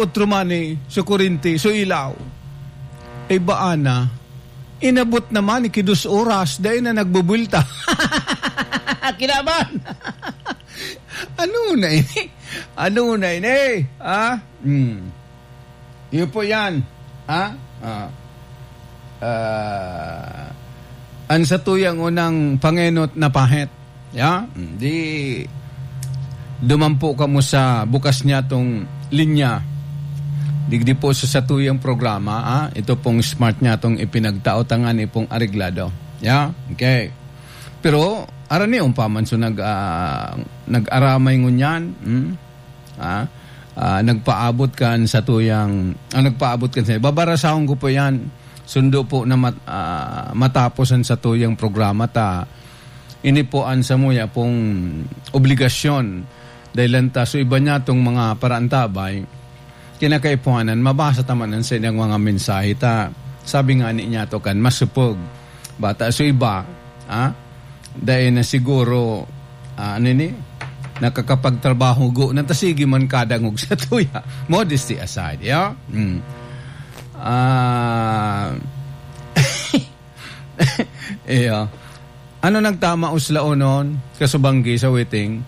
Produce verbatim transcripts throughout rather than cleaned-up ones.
Otro man, eh, so kurente, so ilaw. Ay, baa na? Inabot naman, iki dos oras, dai na nagbubulta. Kinaban! Ano na ini? Ano na ini? Ha? Hmm. Iyo po yan. Ha? Ah. Ah, an satuyang unang pangenot na pahit. Ya? Hmm, di dumampo kamo sa bukas niyatong linya. Digdi po sa satuyang programa, ah, ito pong smart niyatong ipinagtao, tangani pong areglado. Ya? Okay. Pero, arani, umpaman, so nag-, ah, nag-aramay ngunyan, hmm? Ah, ah, nagpaabot kan satuyang, ah, nagpaabot kan sa, babarasahon ko po yan. Sundo po na mat-, ah, matapos an satuyang programa ta. Ini po an samuya pong obligasyon. Dahil lang ta, so iba niya tong mga paraantabay, kinakaipuhanan, mabasa ta man an saindang mga mensahe ta. Sabi nga ni niya to kan masupog. Bata so iba, ah, dai na siguro, ah, ano ni, nakakapagtrabaho, go na ta, sige man kadangog sa tuya. Modesty aside, ya? Mm. Ah, iyo. Ano nagtama, uslaonon, kasubanggi sa waiting?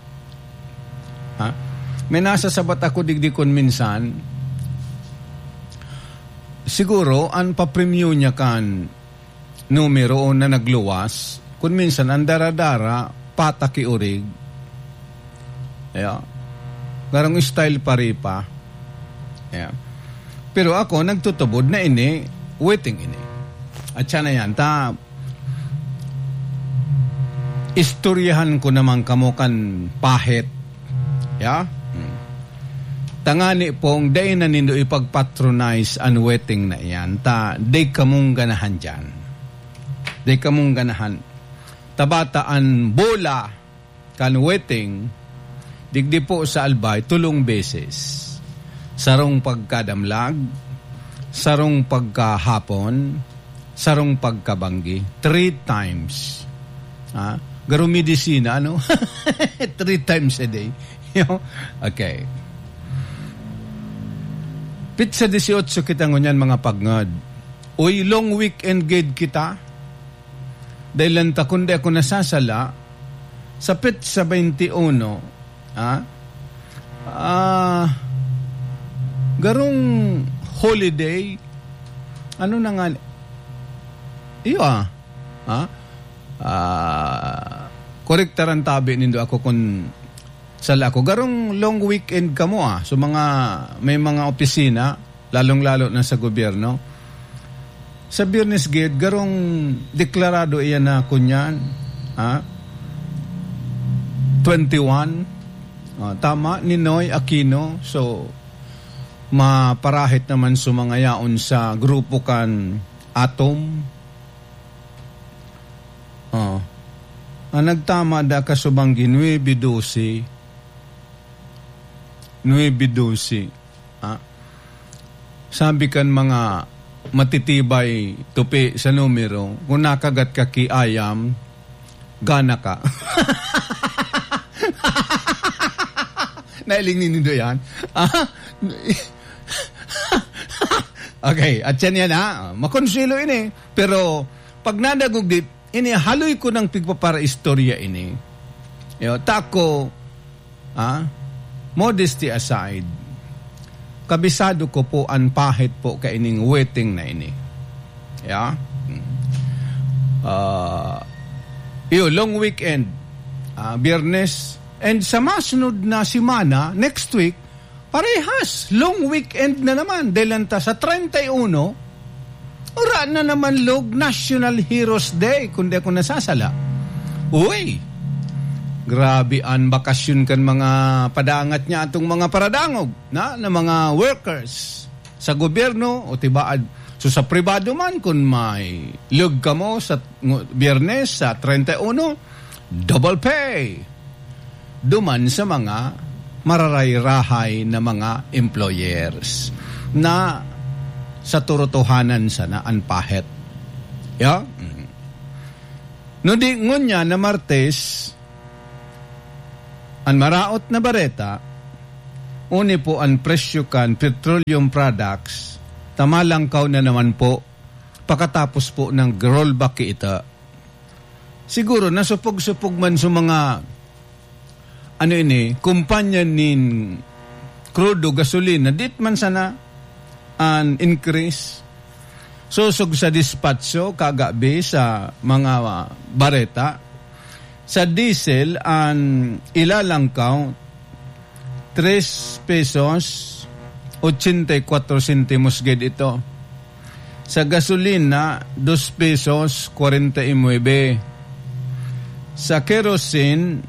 Ha? May nasasabat ako digdi kun minsan, siguro, an papremyo niya kan numero na nagluwas, kun minsan an dara-dara, pataki orig. Yeah. Garong style paripa. Yeah. Pero ako, nagtutubod na ini, waiting ini. At siya na yan, ta, istoryahan ko naman kamo kan pahit. Yeah? Hmm. Tangani pong dai na nindo ipagpatronize an waiting na iyan. Ta, dai kamong ganahan diyan. Dai kamong ganahan. Tabata an bola kan waiting, digdi po sa Albay, tulong beses. Sarong pagkadamlag, sarong pagkahapon, sarong pagkabanggi. Three times. Ha? Garo medisina, ano? Three times a day. Okay. Pitsa dieciocho kita ngunyan, mga pagngad. Uy, long weekend gid kita. Dahil lang ta, kun di ako nasasala, sa petsa twenty-one, ha? Ah, garong holiday, ano na nga, iyo, ah, ha? Ah, korektaran tabi nindo ako kun sala ako. Garong long weekend kamo, ah. So, mga, may mga opisina, lalong-lalo na sa gobyerno. Sa Biyernes gid, garong deklarado iyan na kunyan, ha? Twenty-one. Ah, tama, Ninoy Aquino. So, maparahit naman sa mga yaon sa grupo kan Atom. Oh. Ang nagtama da kasubanggi, nuebe doce. Nuebe doce. Ah. Sabi kan mga matitibay tupi sa numero, kung nakagat ka ki ayam, gana ka. Nailing ni nindo yan? Ah? Okay, at yan yan, ha? Makonsuelo ini. Pero pag nadagog di, ini, haloy ko nang pigpaparaistorya ini. Yo, tako, ah, modesty aside, kabisado ko po an pahit po kaining waiting na ini. Yeah? Hmm. Ah, iyo, long weekend. Ah, Biyernes. And sa masunod na semana, next week, parehas, long weekend na naman. Dahil lang ta sa treinta y uno, ura na naman log National Heroes Day, kung di ako nasasala. Uy! Grabe an bakasyon kan mga padangat niya, atong mga paradangog na, na mga workers sa gobyerno o tibaad. So, sa pribado man, kung may log kamo sa ng-, Biyernes, sa treinta y uno, double pay. Duman sa mga mararayrahay na mga employers na sa turotohanan sana an pahit. Ya? Mm. No di ngunyan na Martes, an maraot na bareta, Uni po an presyo kan petroleum products, ta malangkaw na naman po pakatapos po ng rollback kita. Siguro, nasupog-supog man sa mga, ano ini, kumpanya nin krudo, gasolina, dit man sana an increase. Sosog sa dispatcho, kagabi sa mga, ah, bareta, sa diesel, an ilalangkaw, tres pesos, ochenta y cuatro centimos gid ito. Sa gasolina, dos pesos, kwarenta y nuebe. Sa kerosene,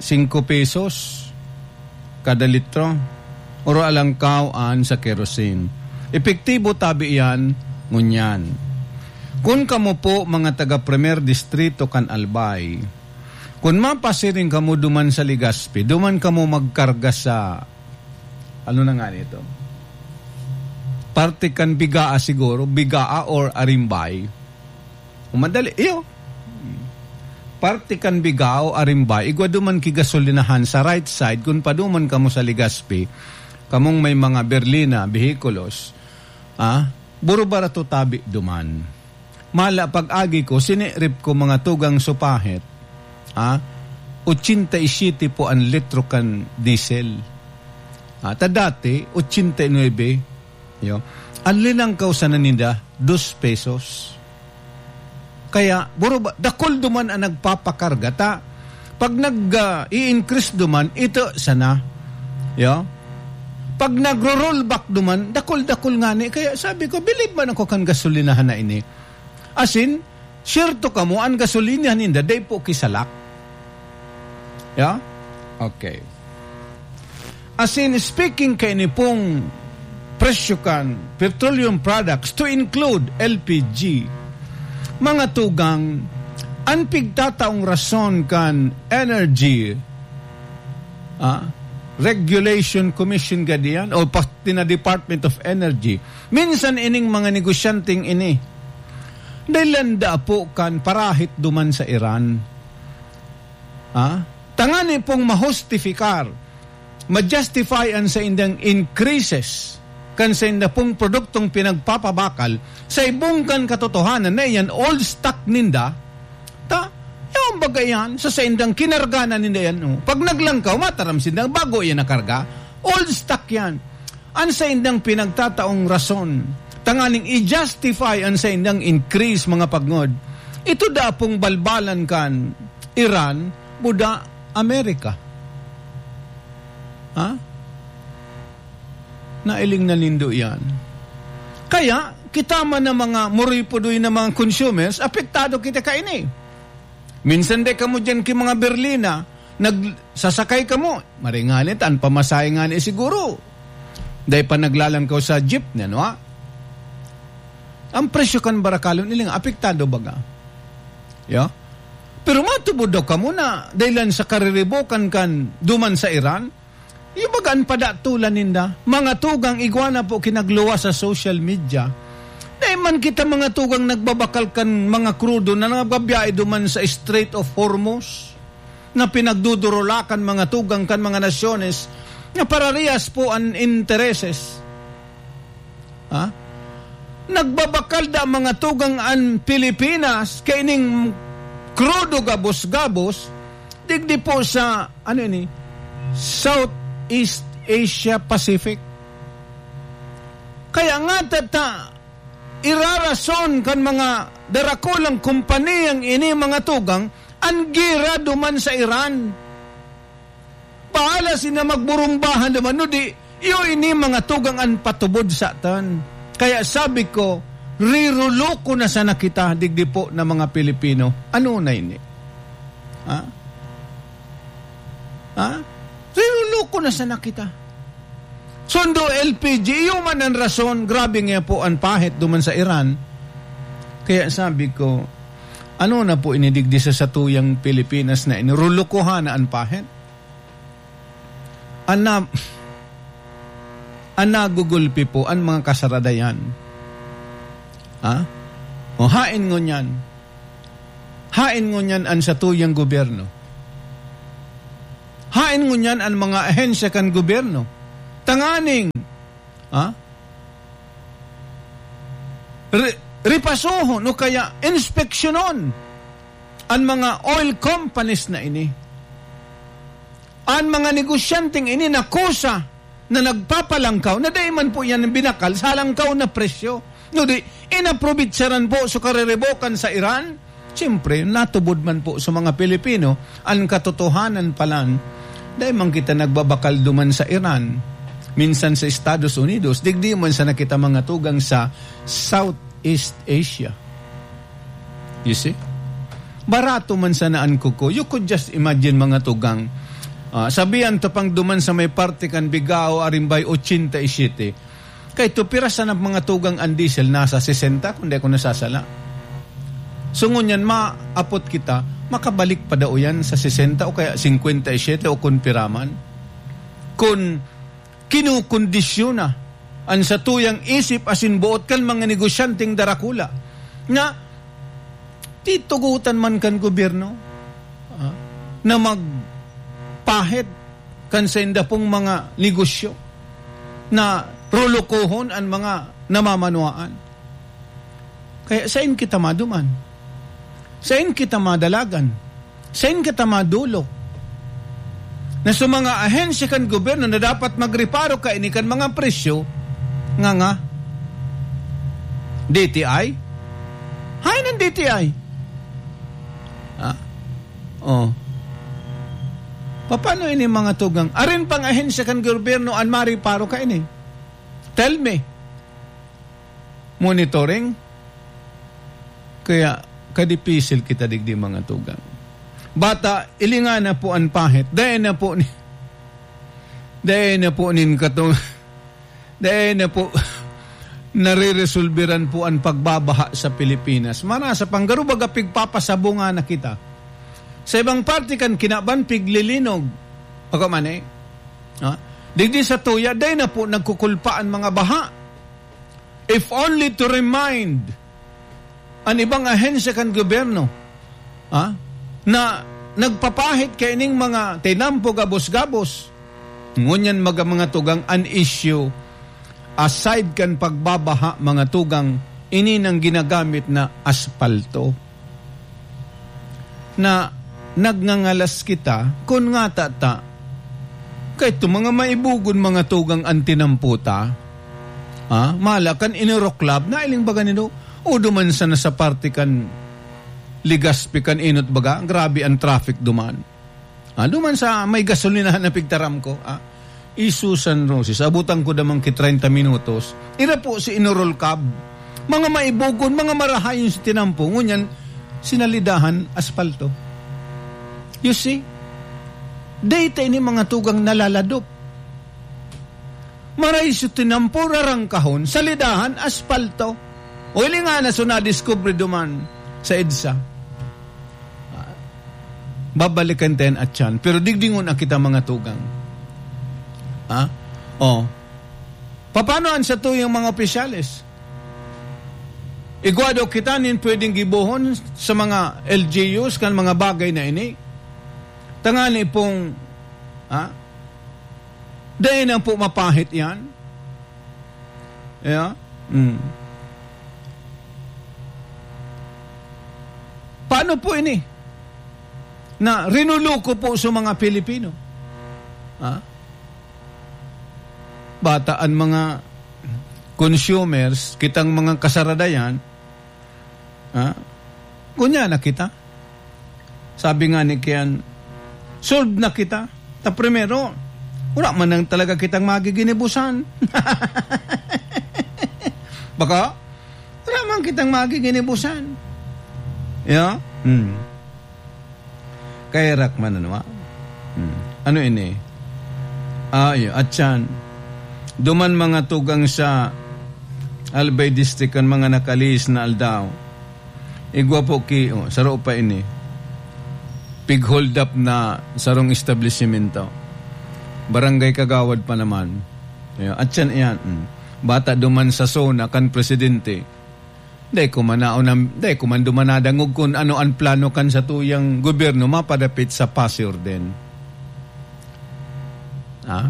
singko pesos kada litro. Oro alangkaw an sa kerosene. Epektibo tabi iyan ngunyan. Kun kamo po, mga taga Primer Distrito kan Albay, kun mapasiring kamo duman sa Legazpi, duman kamo magkarga sa, ano na nga nito? Parte kan Bigaa siguro, Bigaa or Arimbay. O madali, iyo. Parte kan Bigaa o Arimbay, igwa duman ki gasolinahan sa right side, kun paduman kamo sa Legazpi, kamong may mga berlina, behikulos, ah, buro barato tabi duman. Mala pag-agi ko, sinirip ko mga tugang supahit, ah, ochenta y siete po an litro kan diesel. Ah, ta dati, ochenta y nuebe. Yo. An linangkaw sana ninda, dos pesos. Kaya, buro ba, dakul duman an nagpapakarga ta. Pag nag, ah, i-increase duman, ito sana. Yo. Pag nagro-rollback duman, dakul-dakul ngani. Kaya sabi ko, bilib man ako kan gasolinahan na ini. Asin, siyerto kamo, an gasolina ninda, dai po kisalak. Ya? Okay. Asin, speaking kaini pong presyo kan petroleum products to include L P G, mga tugang, an pigtataong rason kan energy, ah, Regulation Commission gadiyan o pati na Department of Energy. Minsan ining mga negosyanteng ini, dahilan daa po kan parahit duman sa Iran. Ah? Tangani pong mahustifikar, ma-justify an saindang increases kan sainda pong produktong pinagpapabakal sa ibong kan katotohanan na iyan old stock ninda, ta, yaon baga iyan, sa saindang kinarga na ninda yan, oh. Pag naglangkaw, mataram sinda, bago iyan nakarga, old stock yan. An saindang pinagtataong rason, tanganing i-justify an saindang increase, mga pagngod, ito daa pong balbalan kan Iran, buda Amerika. Ha? Nailing na nindo iyan. Kaya, kita man na mga muripudoy na mga consumers, apektado kita kaini. Minsan dai kamo diyan ki mga berlina, nagsasakay kamo, maray ngani ta an pamasahe ngani siguro. Dai pa naglalangkaw sa jeepney, ano, ha? Ang presyo kan barakalon, iling apektado baga. Ya? Pero matubod daw kamo na dahilan sa kariribokan kan duman sa Iran, yung baga an padatulan ninda, mga tugang igwa na po kinagluwas sa social media. Dai man kita mga tugang nagbabakal kan mga krudo na nagbabiyahe duman sa Strait of Hormuz na pinagdudurulakan mga tugang kan mga nasyones na pararehas po an intereses. Ha? Nagbabakal da mga tugang an Pilipinas kaining krudo gabos-gabos, digdi po sa, ano ini, Southeast Asia Pacific. Kaya nga tata, irarason kan mga darakulang kompaniyang ini mga tugang an gira duman sa Iran. Bahala sila magburumbahan naman, no di, iyo ini mga tugang an patubod sa atan. Kaya sabi ko, riruloko na sana kita, digdi po na mga Pilipino. Ano na ini? Ha? Ha? Riruloko na sana kita. Sundo L P G, iyo man ang rason, grabe nga po ang pahit duman sa Iran. Kaya sabi ko, ano na po inidigdi sa satuyang Pilipinas na ini? Rulukuhan na ang pahit? An na-, an nagugulpi po, an mga kasaradayan. Ha? O hain ngunyan. Hain ngunyan an satuyang gobyerno. Haen ngunyan an mga ahensya kan gobyerno tanganing, ah, re-, repasohon o kaya inspeksyonon an mga oil companies na ini. An mga negosyanteng ini nakusa na nagpapalangkaw, na dai man po yan binakal sa halangkaw na presyo. Kundi, inaprobitsaran po sa kariribokan sa Iran. Siyempre, natubod man po sa mga Pilipino ang katotohanan palan. Dai man kita nagbabakal duman sa Iran. Minsan sa Estados Unidos, digdi man sana kita mga tugang sa Southeast Asia. You see? Barato man sana an kuko. You could just imagine, mga tugang. Ah, sabihan ta pang duman sa may parte kan Bigao, Arimbay, ochenta y siete. Kay tu pira sana, mga tugang, an diesel, nasa sesenta, kung di ako nasasala. So, ngunyan, maapot kita, makabalik pa daw yan sa sesenta o kaya singkwenta y siyete o kun pira man. Kun kinukondisyon na an satuyang isip asin boot kan mga negosyanteng darakula, nga titugotan man kan gobyerno, ah, na magpahit kan sainda pong mga negosyo, na rolokohon an mga namamanwaan. Kaya sain kita maduman? Sain kita madalagan? Sain kita madolok? Na sa mga ahensya kan gobyerno na dapat magreparo kaini kan mga presyo, nga nga, D T I? Haen an D T I? Ah, oh. Paano ini, mga tugang? Arin pang ahensya kan gobyerno an mareparo kaini? Tell me. Monitoring? Kaya kadipisil kita digdi, mga tugang. Bata, ilinga na po an pahit. Dai na po ni, dai na po nin katong, dai na po nareresolberan po an pagbabaha sa Pilipinas. Marasa pang garo baga pigpapasabunga na kita. Sa ibang parte kan kinaban, piglilinog. Ako man eh. Ha? Digdi sa tuya, dai na po nagkukulpa an mga baha. If only to remind an ibang ahensya kan gobyerno, ha, na nagpapahit kaining mga tinampo gabos-gabos. Ngunyan, mga, mga tugang, an issue, aside kan pagbabaha, mga tugang, ini nang ginagamit na aspalto. Na nagngangalas kita, kun ngata ta, kaito mga maibogon, mga tugang, an tinampo ta. Ah, mala kan Inuro Club, nailing baga nindo? O duman sana sa parte kan Legazpi, kan Inot baga, grabe an traffic duman. Ah, duman sa may gasolinahan na pigtaram ko, ah, Isu San Roque, abutan ko damang ki treinta minutos. Ira po si Inuro Club. Mga maibogon, mga marahayon sa tinampo. Ngunyan, sinalidahan, aspalto. You see? Data ini, mga tugang, nalaladop. Maray sa tinampo, rarangkahon, salidahan, aspalto. O, ili nga na so nadiskubre duman sa EDSA. Ah, babalikan tayo at yan. Pero digdingon na kita, mga tugang. Ha? O. Paano an satuyang mga opisyales? Igwa daw kita nin pwedeng gibohon sa mga L G Us kan mga bagay na ini. Tangani pong, ha? Dai na po mapahit yan. Yeah? Mm. Paano po ini? Na rinuluko po sa mga Pilipino. Ha? Bata an mga consumers, kitang mga kasaradayan, ha? Kunya na kita. Sabi nga ni Kian, "Solve na kita." Ta primero, wala man nang talaga kitang magiginibusan. Baka, wala man kitang magiginibusan. Yeah? Hmm. Kaya rak man, ano, ah? Hmm. Ano ini? Ah, iyo. At yan, duman mga tugang sa Albay District kan mga nakalihis na aldaw. Igwa po ki, oh, saro pa ini. Pig-hold up na sarong establisimento. Barangay Kagawad pa naman. Iyo. At yan, iyan. Hmm. Bata duman sa zona kan presidente. Dai ko man naunam-, dai ko man duman nadangog kun ano an plano kan satuyang gobyerno mapadapit sa Paseo Orden. Ha?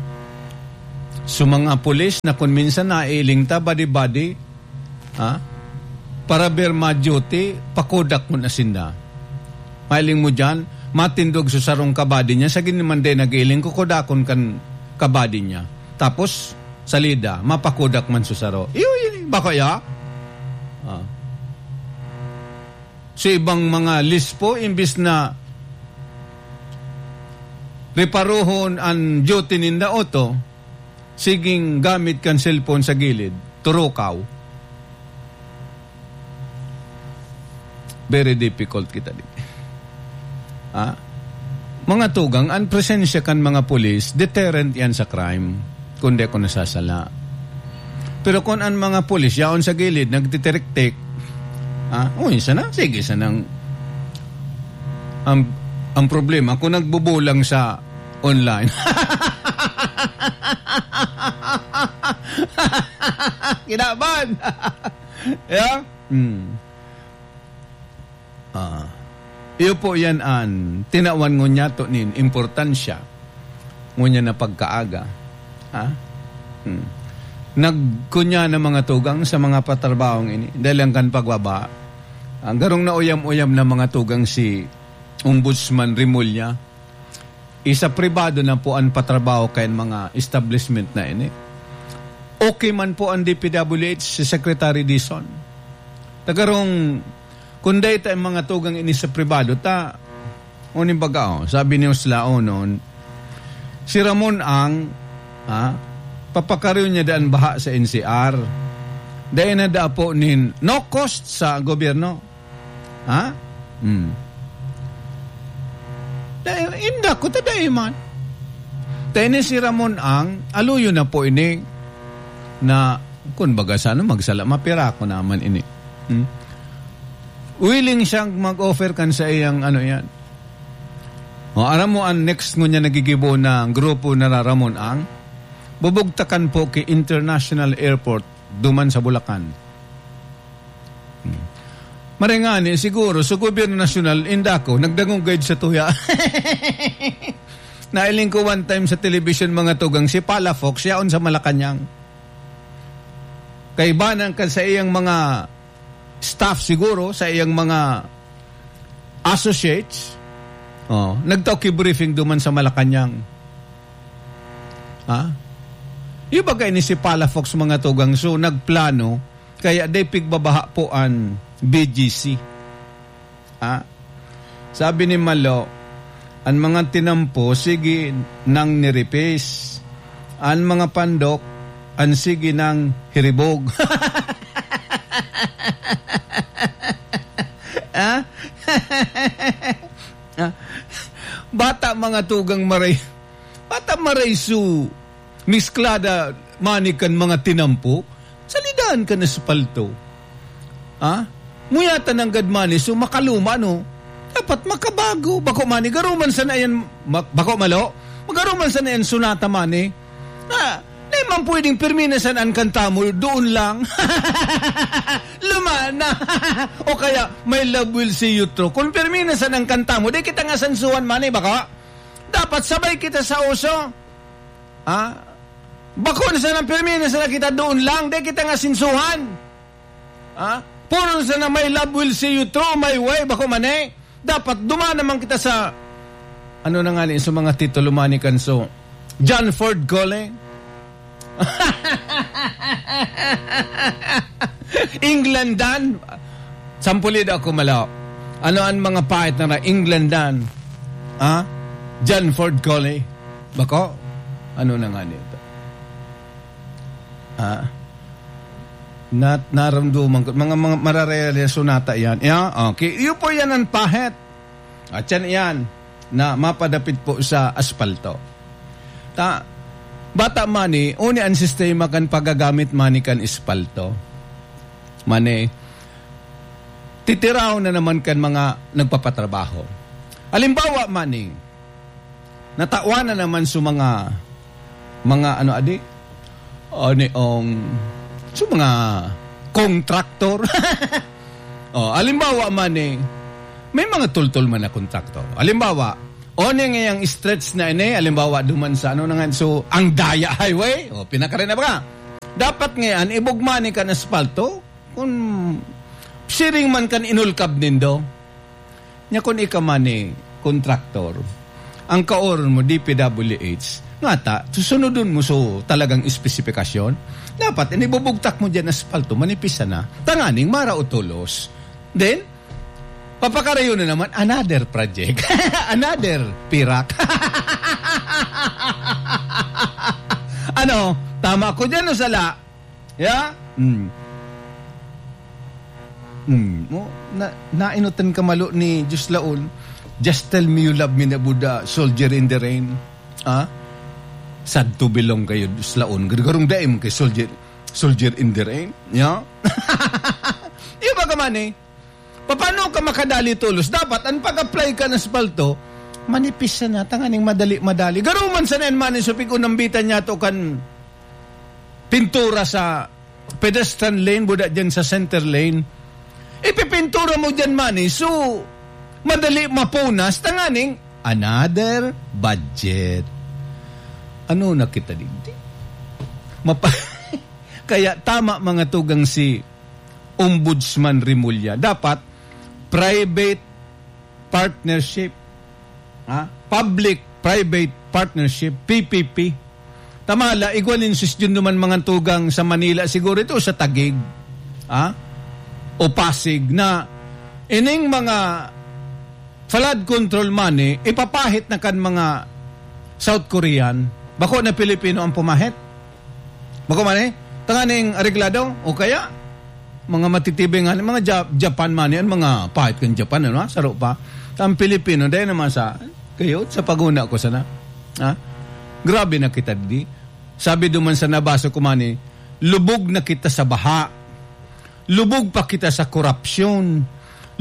So, mga pulis na kun minsan nailing ta, badi-badi, ha? Para ber ma-duty, pakodak mo na sinda. Mailing mo diyan, matindog sa sarong kabadi niya, sa giniman din nag-iling, kukodakon kan kabadi niya. Tapos, salida, mapakodak man sa saro. Iyo, iyo, bako ya? Ah. So, ibang mga lispo, imbis na reparohon ang duty ninda, oto, siging gamit kan cellphone sa gilid, turukaw. Very difficult kita di. Ah? Mga tugang, ang presensya kan mga pulis, deterrent yan sa crime, kung di ako nasasala. Pero kung ang mga pulis, yaon sa gilid, nagtitiriktik, ah, uy, sana, sige, sanang, ang, ang problema, kung nagbubulang sa online. Kinaban! Yeah? Hmm. Ah, iyo po yan an tinawan ngunyan to nin importansya. Ngunyan na pagkaaga. Ha? Hmm. Nagkunya na mga tugang sa mga patrabahong ini. Dahil ang kan pagbaba, ang garong nauyam-uyam na mga tugang si Ombudsman Remulla, isa pribado na po an patrabaho kan mga establishment na ini. Okay man po ang D P W H, si Secretary Dizon. Tagarong, kung dahil tayo mga tugang ini sa pribado, ta, uning baga, oh, sabi ni Uslao noon, si Ramon ang, ha, papakariw niya daan baha sa N C R. Dahil na da po nin no cost sa gobyerno. Ha? Hmm. Dai, inda ko, ta dai man. Ta ini si Ramon ang, aluyo na po ini na, kun baga sa ano, magsala, mapira ko naman ini. Hmm? Willing siyang mag-offer kan sa iyang ano yan. O, aram mo, ang next ngunyan nagigibo na grupo na Ramon ang bubugtakan po ki International Airport duman sa Bulacan. Hmm. Maray ngani, siguro, sa gobyerno nasyonal, inda ko, nagdangog gayud sa tuya. Nailing ko one time sa television, mga tugang, si Palafox, yaon sa Malacañang. Kaibanan kan sa iyang mga staff siguro, sa iyang mga associates, oh, nagtao ki briefing duman sa Malacañang. Ha? Yung bagay ni si Palafox, mga tugang, so nagplano, kaya day pigbabaha po an B G C. Ha? Sabi ni Malo, "An mga tinampo, sige nang niripis. An mga pandok, an sige nang hiribog." Ha? Ha? Bata mga tugang maray-, bata maray su misklada mani kan mga tinampo, salidan kan espalto. Ha? Muyatan nanggad mani, so makaluma, no? Dapat makabago. Bako mani, garuman sana yan, ma-, bako malo? Magaruman sana yan, sunata mani. Na, di man pwedeng pirmi na sana an kanta mo, doon lang. Luma na. O kaya, "My love will see you through." Kung pirmi na sana an kanta mo, di kita nga sansuhan mani, bako? Dapat sabay kita sa uso. Ha? Bako na sana, pirmi na sana kita doon lang, di kita nga sinsuhan. Ha? Puro na sana, "My love will see you through, my way," bako man eh. Dapat duman naman kita sa, ano na nga ni, sa mga titulo mani kan so, John Ford Cole. Englandan. Sampulid ako, malo. Ano ang mga pait na Englandan? Ha? John Ford Cole. Bako? Ano na nga nito? Ha? Nat-, naramdaman ko. Mga, mga mararealisyon nata yan. Yeah? Okay. Iyo po yan ang pahit. At yan, yan, na mapadapit po sa aspalto. Ta, bata mani, uni ang sistema kan paggagamit mani kan aspalto. Mani, titiraw na naman kan mga nagpapatrabaho. Halimbawa mani, natawan na naman sa mga, mga ano adi, ani ang, sa mga kontraktor. Oh, halimbawa mani, may mga tultol man na kontraktor. Halimbawa, O, ning iyang stretch na ini, halimbawa, duman sa ano na nga, so, ang Daya Highway, o, pinakari na ba ka? Dapat ngayon, ibugma ni kan aspalto, kung siring man kan inulkab nindo. Nya kung ika man ni kontraktor, ang kaoron mo, D P W H, nga ta, susunodon mo so talagang espesipikasyon. Dapat, inibubugtak mo dyan aspalto, manipis sana. Tanganing mara o tulos. Then, papakarayo na naman, another project. Another pirak. Ano, tama ko dyan o sala? Yeah? Hmm. Hmm. Mo, na, nainutan ka malo ni Diyos Laon. Just tell me you love me na Buddha, soldier in the rain. Ha? Sad to belong kayo, Diyos Laon. Gargarong daim kay soldier, soldier in the rain. Yeah? Yung baga man eh. Paano ka makadali tulos? Dapat, ang pag-apply ka ng aspalto, manipis sana, tanganing madali-madali. Garo man sana yan, mani, supig unambitan niya to kan pintura sa pedestrian lane, buda dyan sa center lane. Ipipintura mo dyan, mani, so, madali mapunas, tanganing another budget. Ano na kita digdi? Mapa-, kaya tama, mga tugang, si Ombudsman Remulla. Dapat private partnership. Ha? Public-private partnership, P P P. Tamala, igwa nin suggestion naman, mga tugang, sa Manila, siguro ito sa Taguig. Ha? O Pasig na ining mga flood control money, ipapahit na kan mga South Korean. Bako na Pilipino ang pumahit. Bako man eh. Tanganing areglado. O kaya, mga matitibing nga, mga Ja-, Japan man yan, mga pahit kan Japan, ano, saro pa. Ang Pilipino, dahil naman sa, kayo, sa paguna ko sana. Ha? Grabe na kita di. Sabi duman sa nabasa ko man eh, lubog na kita sa baha. Lubog pa kita sa korupsyon.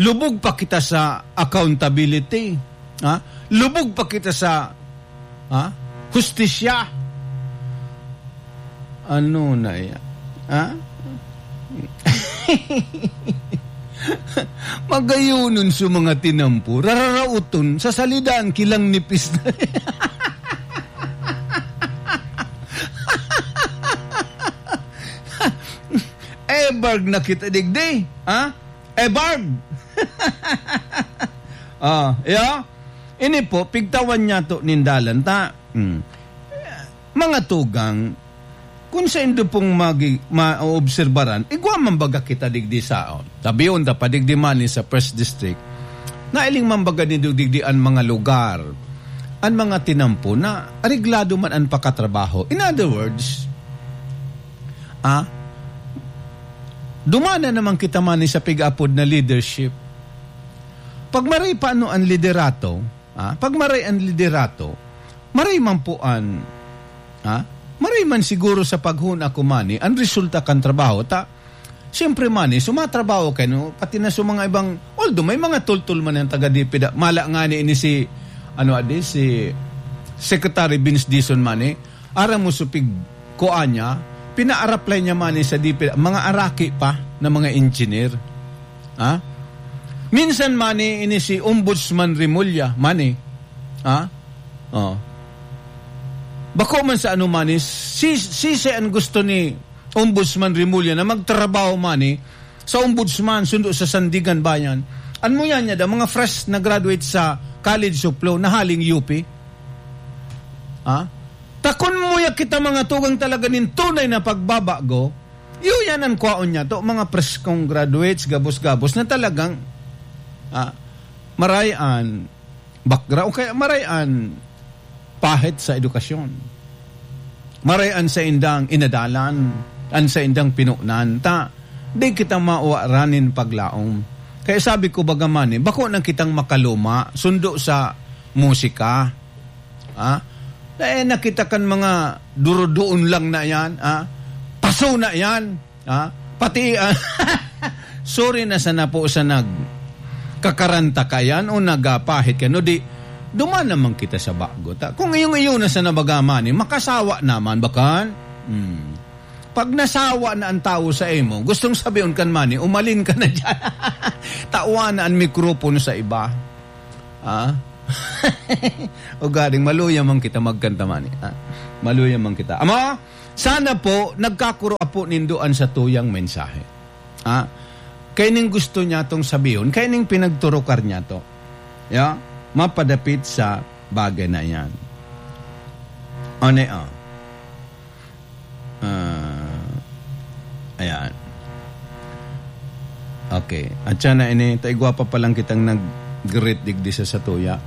Lubog pa kita sa accountability. Ha? Lubog pa kita sa, ha? Hustisya. Ano na yan? Ha? Magayonon sa mga tinampo, rararaoton, sa salidaan, kilang nipis na. Ebarg na kita digdi, ha? Ebarg! Ah, yeah? Ini po, pigtawan niya to nindalan ta. Hmm. Mga tugang, kung saindo pong magi-, maobserbaran, igwa man baga kita digdi saon. Sabiyon ta pa digdi man ni sa First District, nailing man baga nindo digdi an mga lugar, an mga tinampo na areglado man an pakatrabaho. In other words, ah, dumana naman kita man ni sa pig-apod na leadership. Pag maray pa ano an liderato, ah, pag maray an liderato, maray man po an, ah, maray man siguro sa paghuna ko mani, an resulta kan trabaho ta, siyempre mani, sumatrabaho kayo, no? Pati na sa mga ibang, although may mga tultol man ang taga DPWH, mala nga ni ini si, ano adi, si Secretary Vince Dizon mani, aram mo supig kuan niya, pinaaraplay niya mani sa DPWH, mga araki pa na mga engineer. Ha? Minsan mani ini si Ombudsman Remulla, mani. Ha? Oh. Bako man sa ano mani, si, si, si ang gusto ni Ombudsman Remulla na magtrabaho mani sa Ombudsman, sundo sa Sandiganbayan. An mo yan niya da, mga fresh na graduate sa College of Law na haling U P. Ha? Ta kun mo ya kita mga tugang talaga nin tunay na pagbabago, iyo yan an kwaon niya to, mga preskong graduates, gabos-gabos na talagang, ah, maray an background, o kaya maray an pahit sa edukasyon. Maray an saindang inadalan, an saindang pinunan. Ta, di kita mawaran nin paglaom. Kaya sabi ko, baga mani, bako nang kitang makaluma, sundo sa musika. Ha? Eh, nakita kan mga durudoon lang na yan, ha? Paso na yan, ha? Pati, ah, sorry na sana po sa nagkakaranta ka yan o nagapahit ka, no? Di, duman naman kita sa bago. Ta, kung iyong iyo na sana baga mani, makasawa naman, bakan? Hmm. Pag nasawa na ang tao sa imo, gustong sabihin kan mani, umalin ka na dyan. Tawan na ang mikropono sa iba. Ah? Ugaling maluya man kita magkanta man, eh, ha? Maluya man kita. Ama, sana po nagkakuro po nindo an satuyang mensahe. Ha? Kaya ning gusto niya tong sabihon, kaya ning pinagturukar niya to. Ya? Mapadapit sa bagay na yan. Ano, ah? Ah, ayan. Okay. At siya na ini, taigwa pa palang kitang nag-greet digdi sa satuya.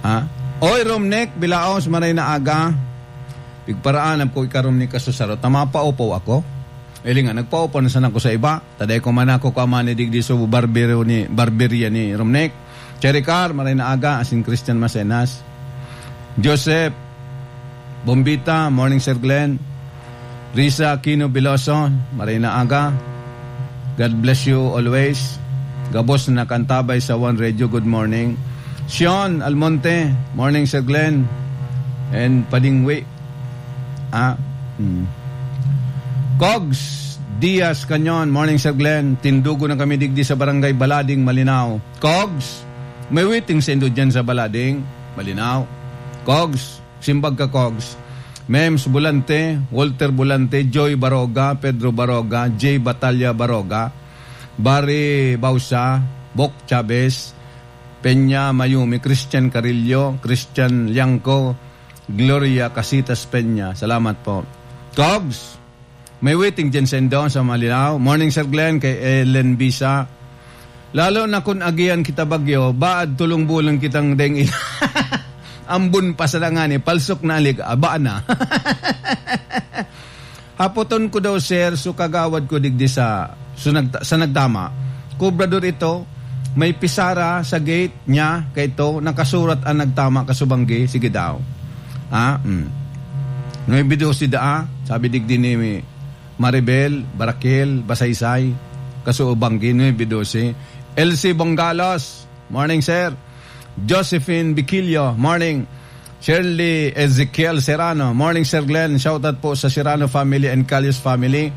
Ha? Oy, Romnek, bilaos, maray na aga. Pigparaanap ko ikarom ni kasusaro. Tama pa, upo ako. Ili nga, nagpaupo na sana ako sa iba. Taday ko man ako, kuha man ni digdi sa barberyo ni, barberya ni Romnek. Cherry Car, maray na aga, asin Christian Macenas. Joseph Bombita, morning, Sir Glenn. Risa Aquino Veloso, maray na aga. God bless you always. Gabos na nakantabay sa One Radio, good morning. Sean Almonte, morning, Sir Glenn. And Padingwi. Ah, hmm. Cogs Diaz Canyon, morning, Sir Glenn. Tindugo na kami digdi sa Barangay Balading, Malinao. Cogs, may waiting sa indo dyan sa Balading, Malinao. Cogs, simbag ka, Cogs. Mems Bulante, Walter Bulante, Joy Baroga, Pedro Baroga, Jay Batalla Baroga, Barry Bausa, Bok Chavez, Peña Mayumi, Christian Carillo, Christian Liangco, Gloria Casitas Peña. Salamat po. Cogs, may waiting dyan sa indo, sa Malinao. Morning, Sir Glenn, kay Ellen Bisa. Lalo na kun agihan kita bagyo, baad tulong-bulong kitang deng ila. Ambon pa sa ngani, palsok na alig, aba na. Hapoton ko daw, sir, so kagawad ko digdi sa, so nagta-, sa nagtama. Kobrador ito, may pisara sa gate niya, kaito, nakasurat ang nagtama, kasubanggi, sige daw. Ah, mm. Nuebe doce daa, sabi digdi ni Maribel Barakel Basaysay, kasubanggi, nuebe doce. L C Bongalos, morning, sir. Josephine Biquillo, morning. Shirley Ezekiel Serrano, morning, Sir Glenn. Shoutout po sa Serrano family and Calius family.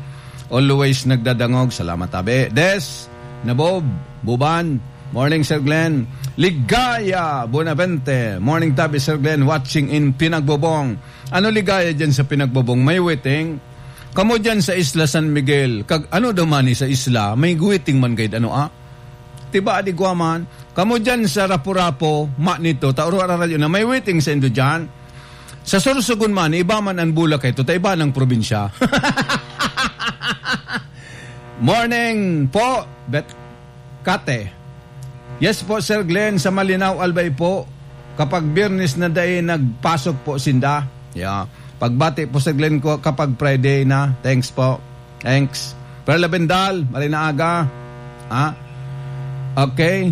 Always nagdadangog. Salamat, tabi. Des, Nabob, Buban, morning, Sir Glenn. Ligaya Bonavente, morning, tabi, Sir Glenn. Watching in Pinagbobong. Ano ligaya dyan sa Pinagbobong? May waiting? Kamo dyan sa Isla San Miguel, kag ano daw man sa isla, may waiting man gayud, ano, ah? Tiba, di gwa man. Kamo dyan sa Rapu-Rapu, ma nito, ta oro araradyo na may waiting sa indo dyan. Sa Sorsogon man, iba man an Boracay, ta iba nang probinsya. Morning po, Bet Kate. Yes po, Sir Glenn, sa Malinao, Albay po. Kapag Biyernes na dai nagpasok po sinda. Yeah. Pagbati po, Sir Glenn, ko kapag Friday na. Thanks po. Thanks. Perla Bendal, maray na aga. Ah, okay.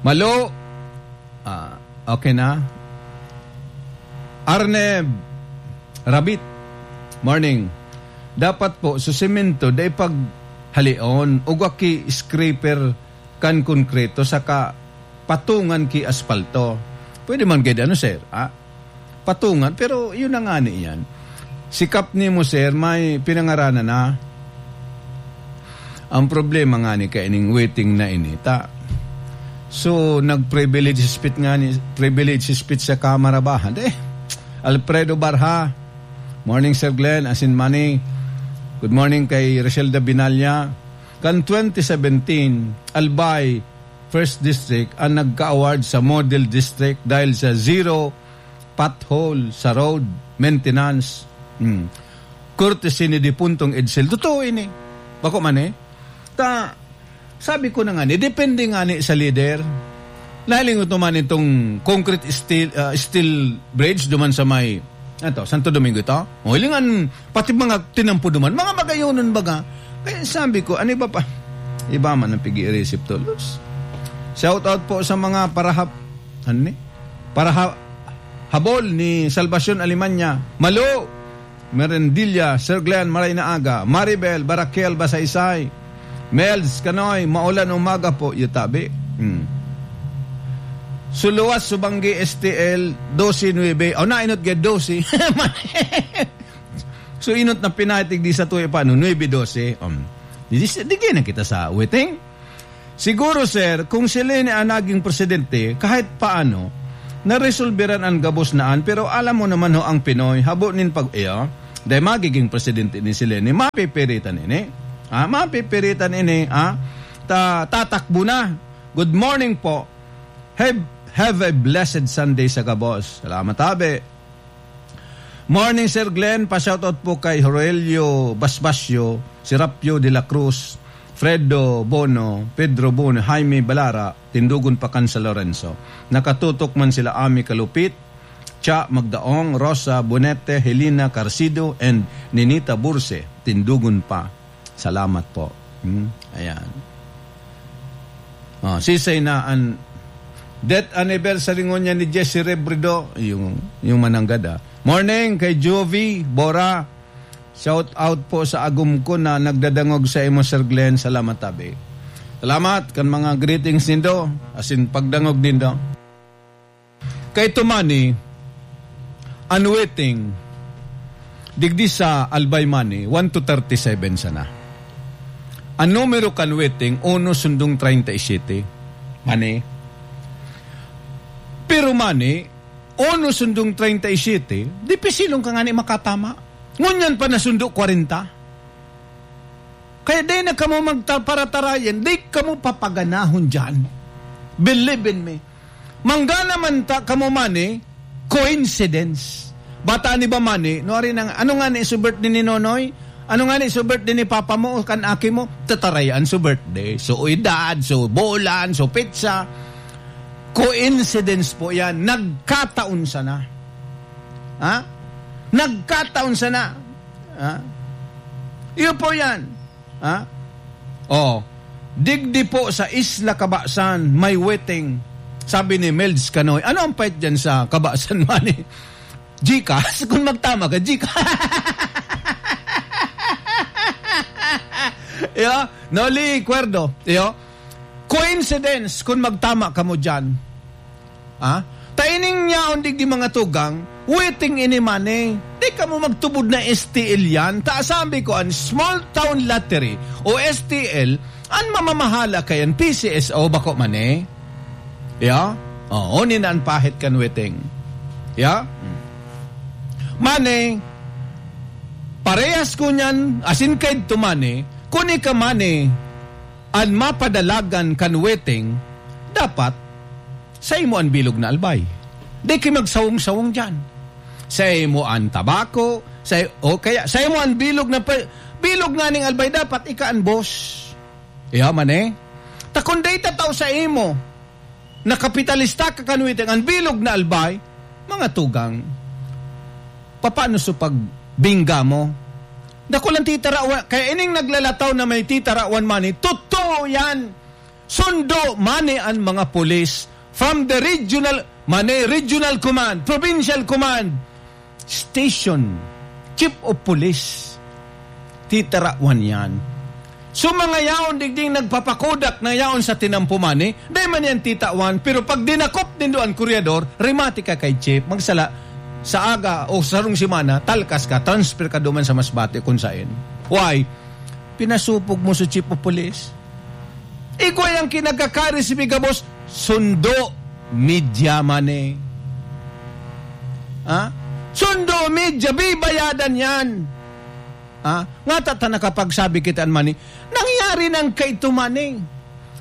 Malo. Ah, okay na. Arneb Rabit, morning. Dapat po, sa semento, dai paghalion, ugwa ki scraper kan konkreto, saka patungan ki aspalto. Pwede man gid, ano, sir? Ah, patungan, pero yun na nga ni yan. Si Kap nimo, sir, may pinangaranan na. Ang problema nga ni kaining waiting na ini, ta. So, nag-privilege speech nga ni, privilege speech sa Kamara ba? Hindi. Alfredo Barha, morning, Sir Glenn, asin Manny. Good morning kay Roselda Binalya. Kan twenty seventeen, Albay, First District ang nagka-award sa Model District dahil sa zero pothole sa road maintenance. Hmm. Courtesy ni Dipuntong Edsel. Totoo ini. Bako man eh. Ta, sabi ko na nga ni, depende nga ni sa leader. Nahiling ko man itong concrete steel, ah, steel bridge duman sa may Ato, Santo Domingo ito. O, hilingan, pati mga tinampo duman, mga bagayonon baga. Kaya sabi ko, ano iba pa? Iba man ang pig-iisip tolos. Shout out po sa mga parahap, ano ni? Paraha-, habol ni Salvacion Alemania. Malo! Merendilla, Sir Glenn, maray na aga. Maribel, Barakel, Basaysay. Mels, Kanoy, maulan umaga po, yutabi. Hmm. Suluwas, Subanggi, S T L, doce nuebe. O, nainot gid, doce. So, inot na pinatig di sa tuya pa, no? Nuebe doce. Um, di, di, di na kita sa waiting. Siguro, sir, kung si Leni ang naging presidente, kahit paano, naresolberan an gabos na an, pero alam mo naman ho ang Pinoy, habo nin pag-, iyo, dahil magiging presidente ni si Leni, mapipiritan ini. Ha? Mapipiritan ini, ha? Ta-, tatakbo na. Good morning po. Have, have a blessed Sunday sa gabos. Salamat, tabi. Morning, Sir Glenn. Pa-shoutout po kay Aurelio Basbasio, Serapio de la Cruz, Fredo Bono, Pedro Bono, Jaime Balara, Tindugon pa kan San Lorenzo. Nakatutok man sila Ami Kalupit, Cha Magdaong, Rosa Bonete, Helena Carcido, and Ninita Burse, Tindugon pa. Salamat po. Hmm, ayan. Oh, sisay na an death anniversary ngunyan ni Jesse Rebredo, yung, yung mananggad, ah. Morning kay Jovi Bora. Shout out po sa agom ko na nagdadangog sa imo, Sir Glenn. Salamat, tabi. Salamat kan mga greetings nindo, asin pagdangog nindo. Kay Tumani, an waiting, digdi sa Albay Mani, one to thirty-seven sana. An numero kan waiting, uno sundong treinta y siete. Mani. Pero Mani, uno sundong treinta y siete, dipisilon ka ngani makatama. Ngunyan pa nasundo kwarenta. Kaya dai na kamo magta-, paratarayan, dai kamo papaganahon diyan. Believe in me. Manggana man ta kamo Mani, coincidence. Bata ni ba Mani, no, ari nang, ano nga ni so birthday ni Nonoy? Ano nga ni so birthday ni Papa mo o kan aki mo? Tatarayan so birthday. So edad, so bulan, so petsa. Coincidence po yan. Nagkataon sana. Ha? Nagkataon sana. Ha? Iyo po yan. Ha? Oh, digdi po sa Isla Cabasan, may waiting. Sabi ni Melds Canoy, "Ano ang pait dyan sa Cabasan Mani?" Gcash? Kung magtama ka, Gcash. Yo, Noli Cuerdo, yo. Coincidence kung magtama ka mo dyan. Ha? Ta ining yaon digdi mga tugang, waiting ini Mani. Di kamo magtubod na S T L yan. Ta sabi ko, an small town lottery o S T L, an mamamahala kayan P C S O bako Mani. Ya? Oo, ni na an pahit kan waiting. Ya? Hmm. Mani, parehas ko niyan, asin kaidto Mani, kun ika Mani, an mapadalagan kan waiting, dapat sa imo an bilog na albay. Di kayo magsawong-sawong diyan. Sa imo an tabako, sa, o kaya sa imo an bilog na pa-, bilog nga ning albay, dapat ika an boss. Iya man eh. Ta kun dai ta tao sa imo, nakapitalista ka kan waiting, an bilog na albay, mga tugang, papaano sa pagbingga mo? Dakulang titarawan, kaya ining naglalataw na may titarawan Mani, totoo yan. Sundo Mani an mga pulis from the regional, Mani, regional command, provincial command, station, chief of police. Titarawan yan. So, mga yaon digding nagpapakodak na yaon sa tinampo Mani, dai man yan titawan, pero pag dinakop nindo an koryador, remati ka kay chief, magsala, sa aga o sarong semana, talkas ka, transfer ka duman sa Masbate kung sain. Why? Pinasupog mo sa chief of police. Igwa yang kinagkakari si Bigabos, sundo, media Mani. Ha? Sundo, media, bibayadan yan. Ha? Nga ta, ta nakapagsabi kita an Mani. Nangyari nang kaito Mani.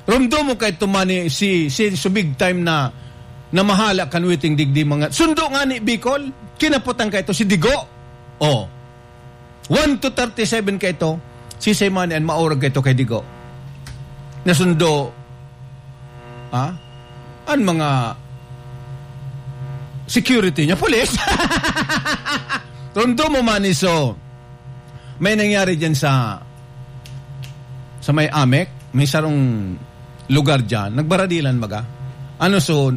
Rumdo mo kaito Mani, si, si, so big time na, na mahala kan waiting digdi mga. Sundo nga ni Bicol, kinaputan kaito si Digo. Oh. One to thirty-seven kaito, si Mani an maurag kaito kay Digo. Nasundo, ha? An mga security niya, pulis. Rumdo mo Mani, so, may nangyari dyan sa, sa may Amec, may sarong lugar dyan, nagbaradilan baga. Ano so,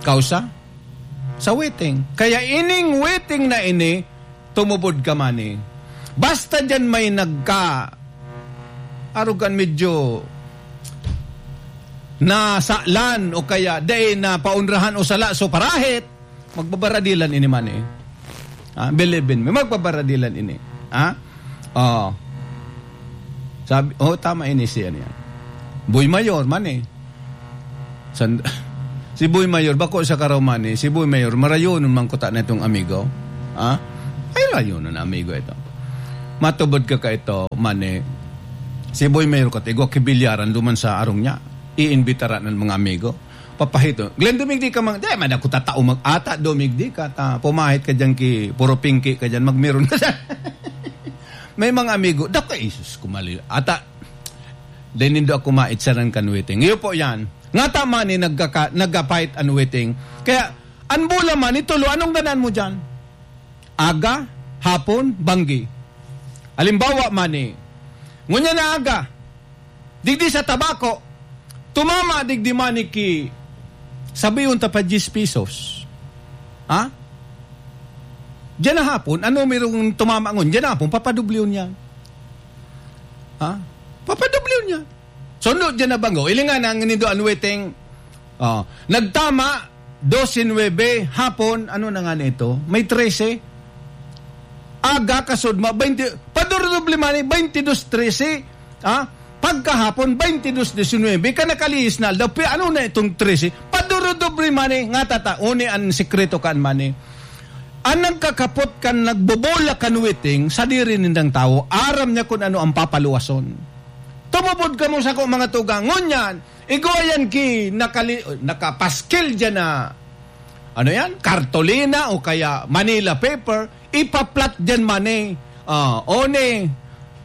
kausa? Sa waiting. Kaya ining waiting na ini, tumubod ka Mani. Basta dyan may nagka-, arugan medyo nasalan o kaya dai na paunrahan o sala, so parahit, magbabaradilan ini Mani. Ah, believe in me, magbabaradilan ini. Ha? Oh. Sabi, oh, tama ini siya niya. Boy Mayor man eh. San-, si Boy Mayor, bako sa karaw man eh. Si Boy Mayor, marayonon man kuta na itong amigo. Ha? Ay, rayonon na amigo ito. Matubod ka ka ito, man eh. Si Boy Mayor, katigo, kibilyaran duman sa arong niya. Iimbitaran ng mga amigo. Papahito. Glenn, dumigdi ka mang, di, man ako tatao mag-ata, dumigdi ka, ta, pumahit ka dyan ki, puro pingki ka dyan, magmeron ka dyan. May mga amigo, dako, Jesus, kumali. Ata, dahil nindo ako maitsaran kan waiting. Iyo po yan. Nga ta man eh, nagkaka-, nagkapait an waiting. Kaya, an bola man, itulo, anong ganaan mo dyan? Aga, hapon, banggi. Halimbawa man eh, ngunyan na aga, digdi sa Tabaco, tumama digdi man eh ki, sabiyon ta pa diyes pesos. Ha? Diyan na hapon, ano merong tumama ngun? Diyan na hapon, papadubliyon yan. Ha? Papadubliyon yan. Sundo dyan na banggo. Ilingan ang nindo an waiting. Oh, nagtama, dose nuebe, hapon, ano na nga nito? May trese. Aga, kasudma, baynte, padurudoble man eh, baynte dos trese. Ha? Pagkahapon, baynte dos diesinuebe, ka nakalihis na aldaw, pi-, ano na itong trese? Padurudoble man eh, nga tata, uni an sikreto kan man eh. An nagkakapot kan nagbobola kan waiting, sadiri nindang tawo, aram niya kun ano ang papaluwason. Tumubod kamo sako, mga tugang. Ngunyan, igwa yan ki nakali-, nakapaskil dyan na, ano yan? Kartolina o kaya Manila paper, ipaplat dyan man eh. Ah, one.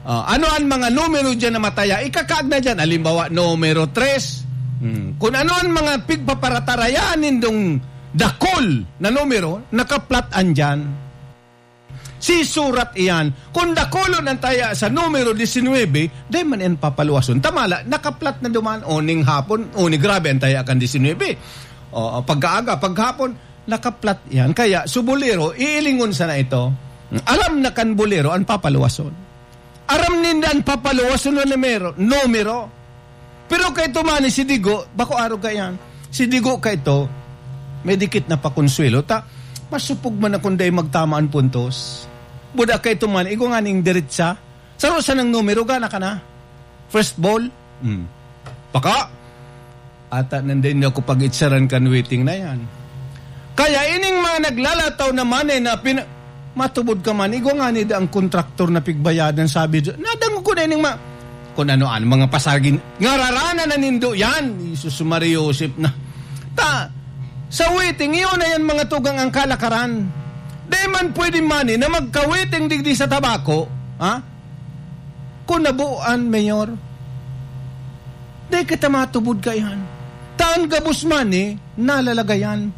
Ah, ano ang mga numero dyan na mataya? Ikakaag na dyan. Halimbawa, numero tres. Hmm. Kung ano ang mga pigpaparatarayaan nindong dakol na numero, nakaplat an dyan. Si surat iyan, kung dakulon ang taya sa numero diesinuebe, dai man iyan papaluwason. Tamala, nakaplat na duman, o ning hapon, o ni grabe ang taya kan diesinuebe. O, pagkaaga, paghapon, nakaplat iyan. Kaya, su bolero, iilingon sana ito. Aram na kan bolero ang papaluwason. Aram ninda an papaluwason na numero, numero. Pero kaito man si Digo, bako arog ka iyan. Si Digo kaito, may dikit na pakonsuelo. Ta, masupog man akong dai magtama an puntos. Buda kaito man, igwa nga ning diretsa. Saro sanang numero, gana ka na. First ball. Hmm. Baka, ata nanday niyo ako pag-itsaran kan waiting na yan. Kaya ining mga naglalataw naman eh na pina-, matubod ka man, igwa nga ni da ang kontraktor na pigbayadan, sabi do, nadangog ko na ining ma-, kung ano-ano, mga pasagin, ngararana na nindo yan. Jesus Maria Joseph na. Ta, sa waiting, iyon na yan, mga tugang, ang kalakaran. Di man pwede man eh, na magka-waiting digdi sa Tabaco, ha? Kung nabuan, Mayor, dai kita matubod kaiyan. Ta an gabos man eh, nalalagayan.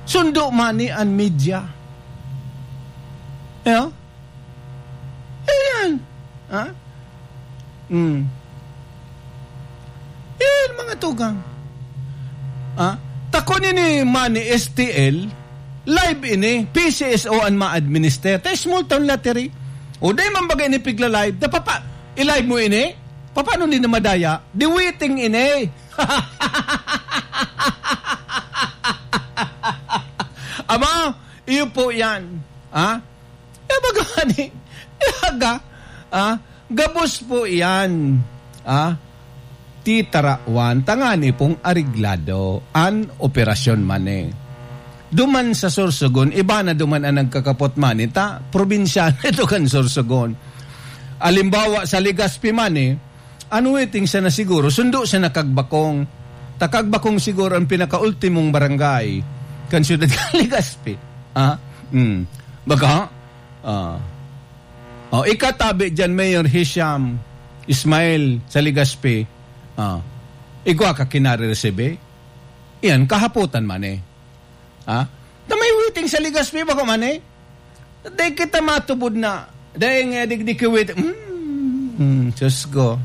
Sundo man eh an media. Yeah? Ayan. Ha? Hmm. Yan, mga tugang. Ha? Takon ini man ni S T L, live ini, P C S O an ma-administer. Ta small town lottery. O, dai man bagay ini pigla-live. Da, papa, i-live mo ini? Paano di na madaya? Di waiting ini. Ama, iyo po yan. Ha? Kaya baga ni, kaya ga, ah, gabos po iyan. Ah, titarawan, tangani pong ariglado, an operasyon man eh. Duman sa Sorsogon, iba na duman ang nagkakapot man eh, ta, probinsyano ito kan Sorsogon. Alimbawa, sa Legazpi man eh, ano waiting siya na siguro, sundo siya na Kagbakong. Ta Kagbakong siguro ang pinakaultimong barangay kan siyudad kan Legazpi. Ah? Hmm. Baga? Ah. Oh, ikatabi dyan, Mayor Hisham Ismail sa Legazpi. Ah. Igwa ka kinare-resibe? Iyan, kahapotan man eh. Ha? Na may waiting sa Legazpi, bako man eh. Dai kita matubod na. Dai nga digdi ki waiting. Hmm, hmm, Diyos ko.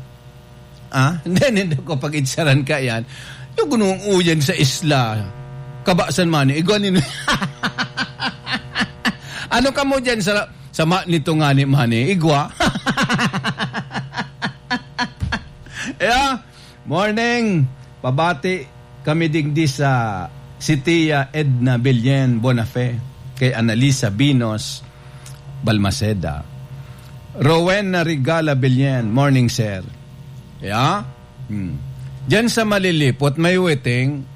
Ah, hindi, hindi ko pag-itsaran ka yan. Yung gunung uyan sa isla. Kabasan man eh. Igwa nin-, ano ka mo dyan sa, sa ma-, nito nga ni man eh? Igwa? Yeah? Morning! Pabati kami digdi sa si Tia Edna Billen Bonafe, kay Annalisa Binos Balmaceda. Rowena Regala Billen, morning, sir. Yeah? Hmm. Diyan sa Malilipot, may waiting.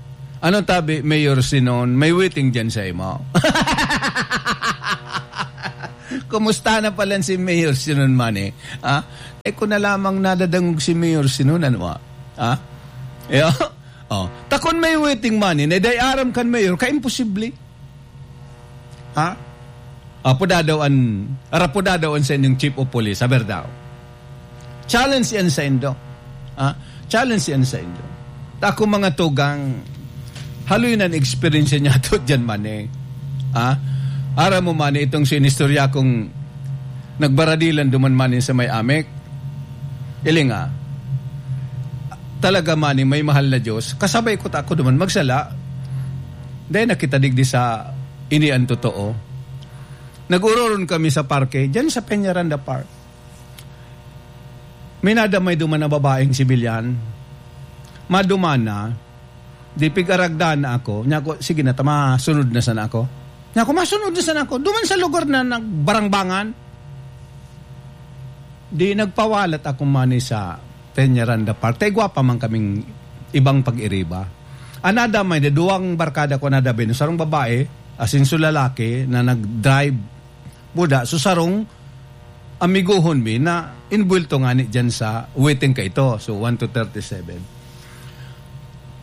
Ano tabi, Mayor Sinon, may waiting diyan sa imo? Kumusta na pala si Mayor Sinon, mani? Ha? Eh, kung na lamang nadadangog si Mayor Sinon, ano, ah? Ha? Iyo? Oh. Takon may waiting, mani, na day aram kan Mayor, kaimposible. Ha? Apo daw an, arapo daw an sa inyong chief of police, aber daw. Challenge yan sa indo. Ha? Challenge yan sa indo. Ta akong mga tugang, haloy na experience niya to dyan man eh. Ha? Aram mo man eh, itong sinistorya kong nagbaradilan duman man eh sa may Amek. Ilinga, talaga man eh, may mahal na Diyos. Kasabay ko ta ako duman magsala. Dahil nakita digdi sa ini ang totoo. Nag-uroron kami sa parke, dyan sa Peñaranda Park. May nadamay duman na babaeng sibilyan. Maduman na, di pig-aragdan na ako. Niya ako, "Sige na, ta, masunod na sana ako." Niya ako, "Masunod na sana ako." Duman sa lugar na nagbarangbangan. Di nagpawalat ako mani sa Peñaranda Park. Tay gwapa man kaming ibang pag-iriba. Anada may duwang barkada ko, anada bin, sarong babae, asin so lalaki na nag-drive. Buda, so sarong amigohon mi na inbuwelto ngani dyan sa waiting ka ito. So, one to thirty-seven.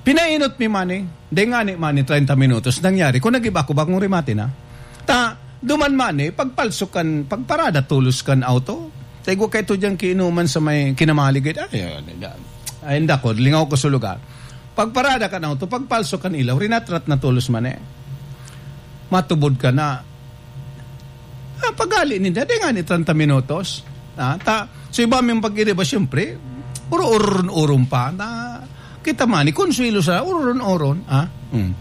Pinainot mi mani, dai ngani mani treinta minutos nangyari. Kung nag-iba ko, bagong remate na. Ta, duman mani, pagpalso kan, pagparada tolos kan auto. Taigo ka ito dyan kiinuman sa may kinamaligid. Ay, ay, ay, ay, inda ko, lingaw ko sa lugar. Pagparada kan auto, pagpalso kan ilaw, rinatrat na tolos mani. Matubod ka na. Ah, pagali ninda, di nga ni treinta minutos. Ah, ta, so iba ming pag-iriba, siyempre, uro-uron-uron pa. Na, kita man, ni konsuelo sa uron-uron. Ah, mm.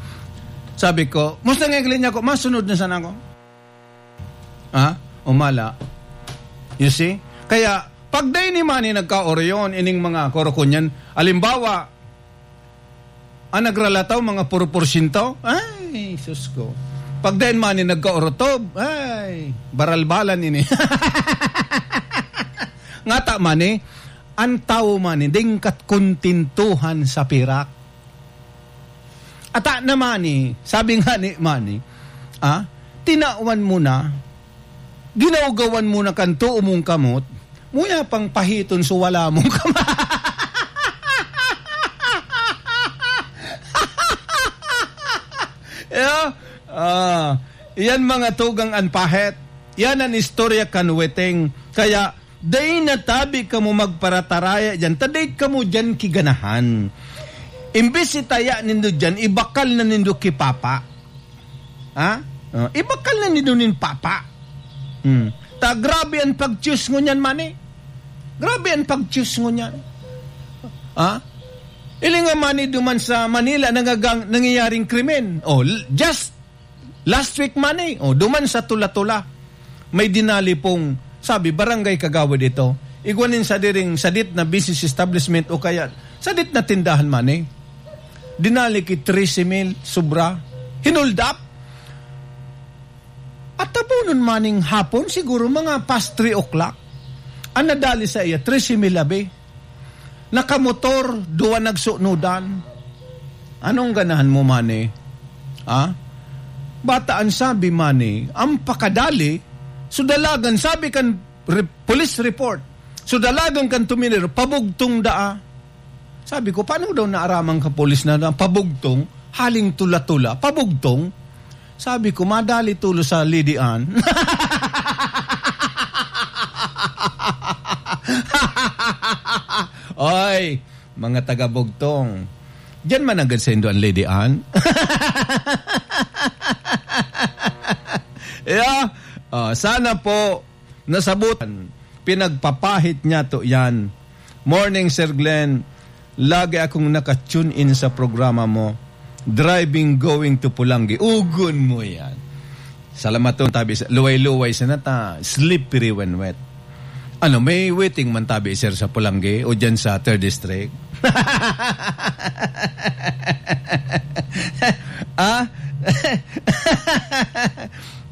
Sabi ko, "Musta nga igli niya ko? Masunod na sana ako." Ah, umala. You see? Kaya, pag dai ni mani nagkaoryon, ining mga korokonyan, alimbawa, Ang nagralataw, mga puro porsyento? Ay, sus ko. Pag dai man ni nagkaorotob, ay, baralbalan ini. Ngata man ni, ang tawo man ni, dingkat kontintuhan sa pirak. Ata naman ni, sabi nga ni Manny, ah, tinawan mo na, ginawgawan mo na kan tuo mong kamot, muya pang pahiton so wala mong kamot. Yeah? Ah, yan mga tugang an pahet. Yan ang istorya kan Weteng. Kaya, dai na tabi kamo magparataraya diyan, ta dai kamo diyan kiganahan. Imbes itaya nindo diyan, ibakal na nindo ki Papa. Ha? Oh, ibakal na nindo nin Papa. Hmm. Ta grabe an pag-choose ngunyan, mani. Grabe an pag-choose ngunyan. Ha? Ili nga mani duman sa Manila nangagang-, nangyayaring krimen. Oh, l-, just last week mani. Oh, duman sa Tula-Tula. May dinali pong, sabi, barangay kagawad ito. Igwa nin sadiring, sadit na business establishment o kaya sadit na tindahan mani. Dinali ki trese mil, sobra. Hinold up. At tabunon maning hapon, siguro mga past three o'clock. Ang nadali sa iya, trese mil abi. Nakamotor, duwa nagsunodan. Anong ganahan mo, mani? Ha? Bata ang sabi, mani, ang pakadali, so dalagan, sabi kan re-, police report, so dalagan kan tuminir, pabugtong daa. Sabi ko, "Paano daw naaraman ka, polis, na, na pabugtong, haling Tula-Tula, pabugtong?" Sabi ko, "Madali tulo sa Lady Ann." Oy, mga taga-Bugtong, diyan man agad sa indo ang Lady Ann. Yeah. Oh, sana po nasabutan. Pinagpapahit niya to yan. Morning, Sir Glenn. Lagi akong naka-tune in sa programa mo. Driving going to Pulanggi. Ugon mo yan. Salamat to, tabi sa, luway-luway sa nata, slippery when wet. Ano, may waiting man tabi, sir, sa Pulanggi o dyan sa third District? Ah?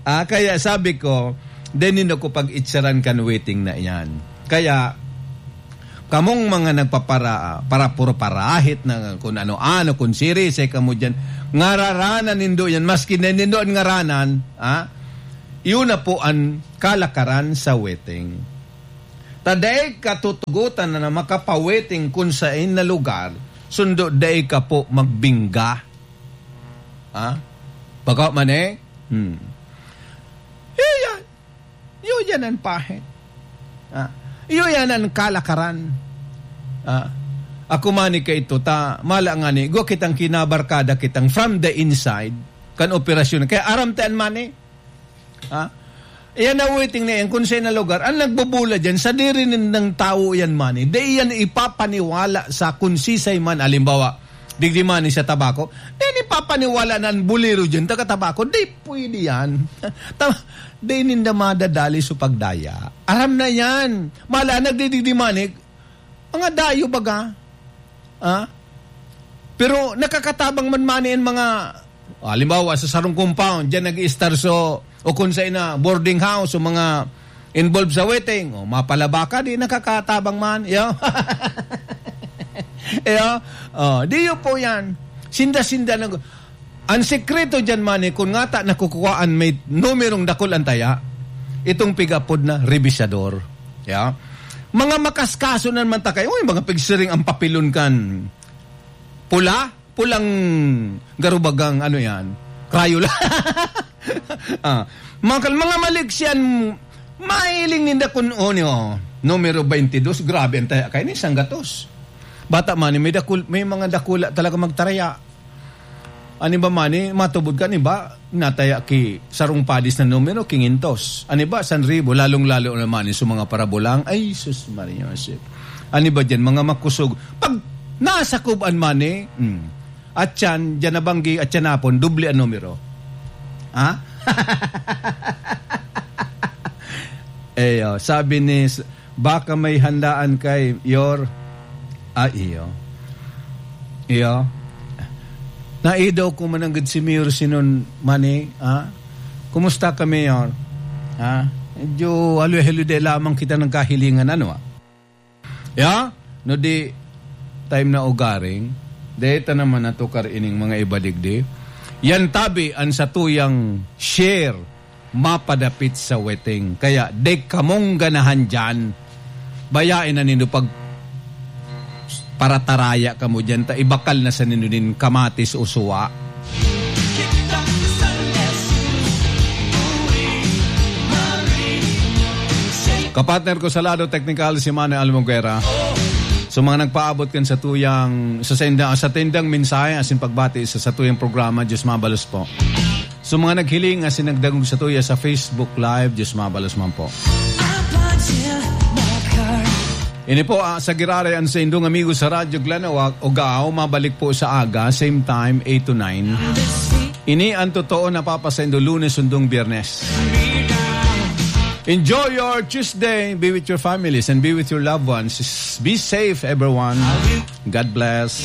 Ah, kaya sabi ko, "Dai nindo ko pag-itsaran kan waiting na iyan." Kaya, Kamong mga nagpapara-, para, puro parahit na kun ano-ano, kun sirisay kamo diyan, ngararanan nindo yan, maski na nindo an ngaranan, ha? Iyon na po an kalakaran sa wedding. Ta dai ka tutugotan na makapawedding kun saen na lugar, sundo dai ka po magbingga. Ha? Bako man eh. Hmm. Iyo yan. Iyo yan an pahit. Ha? Iyo yan an kalakaran. Ha? Ako man ni kaito, ta, mala nga ni, gwa kitang kinabarkada kitang from the inside, kan operasyon. Kaya aram ta an man eh. Ha? Iyan na wedding na yan, kung sa na lugar, ang nagbubula dyan, sa diri nindang tawo yan man eh. Di yan ipapaniwala sa kung sisay man, alimbawa, digdi man eh sa Tabaco, di yan ipapaniwala na ang bulero dyan, taga Tabaco, di pwede yan. Ta-, di ninda madadali sa pagdaya. Aram na yan. Mala, nagdidigdi man eh, mga dayo baga. Ah? Pero nakakatabang man man yan mga, halimbawa, sa sarong compound, dyan nag-i-star so, o kung sa ina, boarding house, o mga involved sa wedding, o mapalaba ka, di nakakatabang man. Yo. Yo. Oh, di yun po yan. Sinda-sinda nag-, ang sekreto dyan man eh, kung ngata nakukuhaan may numerong dakul ang taya, itong pigapod na rebisador. Ya? Mga makaskaso na naman ta kayo, uy, mga pigsiring ang papilon kan pula, pulang garubagang ano yan, Crayola. Ah, mga kal-, mga maliksian, mahiling ninda kun, oh, niyo, numero twenty-dos, grabe ang taya kayo ni Sanggatos. Bata man, may dakul-, may mga dakula talaga magtaraya. An iba man eh, matubod kan iba, nataya ki sarong padis na numero, kingentos. An iba, sanribo, lalong-lalo na man eh, sa mga parabulang, ay, sus, Maria Josep. An iba dyan, mga makusog. Pag nasakob an man eh, hmm, at yan, dyan nabanggi, at yan napon, doble an numero. Ha? Eh, oh, sabi ni s-, baka may handaan kay Yor. Ah, iyo. Iyo. Naidaw ko mananggad si Mayor Sinon Mani, ha? Kumusta ka, Mayor? Ha? Medyo haloy-haloy lamang kita nagkahilingan, ano, ah? Ya? No di, time na ugaring, deta naman natukar ining mga ibadigdi. Yan tabi an satuyang share mapadapit sa wedding. Kaya, di kamong ganahan dyan. Bayain na nindo pag parataraya kamo dyan, ta ibakal na sa nindo nin kamatis o suwa. Kapatner ko sa lado teknikal, si Manny Almoguera. So, mga nagpaabot kan sa tuyang, sa senda-, sa tendang mensahe, asin pagbati sa, sa tuyang programa, Diyos mabalos po. So, mga naghiling asin nagdangog sa tuya sa Facebook Live, Diyos mabalos man po. Ini po, ah, sa giraray an saindong amigo sa Radyo Glenawag, Ogao, mabalik po sa aga, same time, eight to nine. Ini ang totoo na papasaindo Lunes, sundong Biyernes. Enjoy your Tuesday. Be with your families and be with your loved ones. Be safe, everyone. God bless.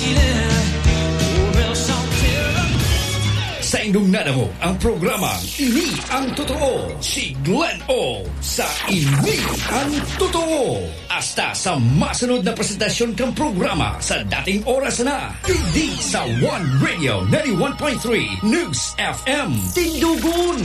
Saindong nadangog ang programang Ini ang Totoo, si Glenn O sa Ini ang Totoo. Hasta sa masunod na presentasyon kang programa sa dating oras na, digdi sa One Radio ninety-one point three News F M. Tindugon!